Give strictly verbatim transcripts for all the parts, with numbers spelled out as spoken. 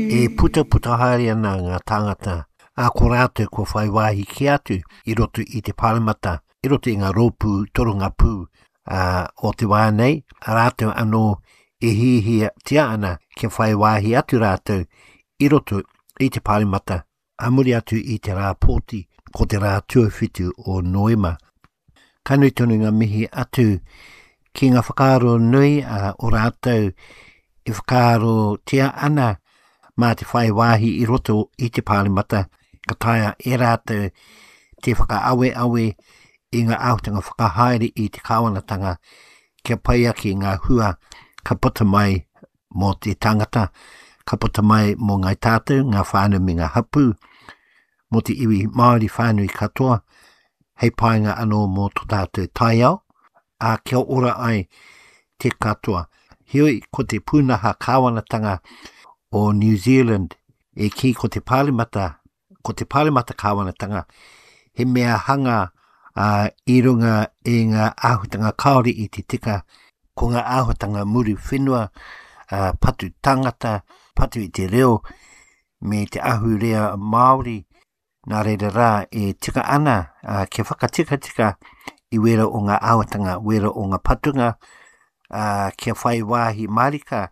E putaputa haere ana ngā tāngata, ā, ko rātou kua whai wāhi ki atu i roto i te pāremata, i roto i ngā rōpū torongapū ā, o te wā nei, rātou anō e hiahiatia ana kia whai wāhi atu rātou i roto i te pāremata, ā muri atu i te rā pōti, ko te rā tuawhitu o Noema. Ka nui tonu ngā mihi atu ki ngā whakaaro nui uh, o rātou e whakaarotia ana mā te whai wāhi i roto i te pāremata, ka taea e rātou te whakaaweawe i ngā āhuatanga whakahaere i te kāwanatanga kia pai ake ngā hua ka puta mai mō te tangata, ka puta mai mō ngāi tātou, ngā whānau me ngā hapū, mō te iwi Māori whānui katoa, hei painga anō mō tō tātou taiao, ā, kia ora ai te katoa. Heoi, ko te pūnaha kāwanatanga o New Zealand e kī ko te pāremata, ko te pāremata kāwanatanga, he mea hanga uh, i runga i ngā āhuatanga kāore i te tika, ko ngā āhuatanga muru whenua, uh, patu tangata, patu i te reo, me te ahurea Māori, nā reira rā e tika ana uh, kia whakatikatika i wera o ngā āhuatanga, wera o ngā patunga, uh, kia whai wāhi mārika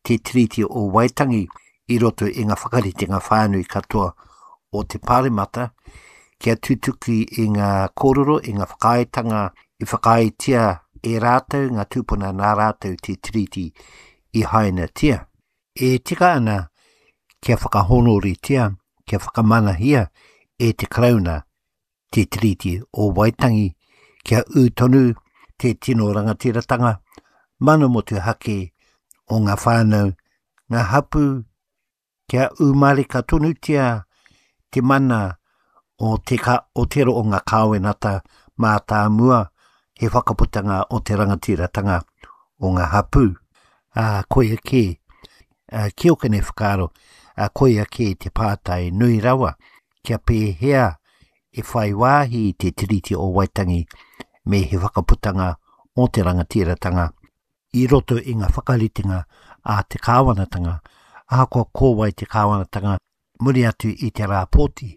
te Tiriti o Waitangi i roto i ngā whakaritenga whānui katoa o te pāremata, kia tutuki i ngā kōrero, i ngā whakaaetanga i whakaaetia e rātou, ngā tūpuna nā rātou te Tiriti i hainatia. E tika ana kia whakahōnoretia, kia whakamanahia e te Karauna te Tiriti o Waitangi, kia ū tonu te tino rangatiratanga, mana motuhake o ngā whānau, ngā hapū, kia ū mārika tonutia te mana o te, ka, o te ro o ngā kāwenata mātāmua, he whakaputanga o te rangatiratanga o ngā hapū. Ā, koia kē, ā, ki ōku nei whakaaro, ā, koia kē te pātai nui rawa, kia pēhea e whai wāhi te Tiriti o Waitangi me he whakaputanga o te rangatiratanga i roto i ngā whakaritenga a te kāwanatanga, ahakoa ko wai te kāwanatanga, muri atu i te rā pōti,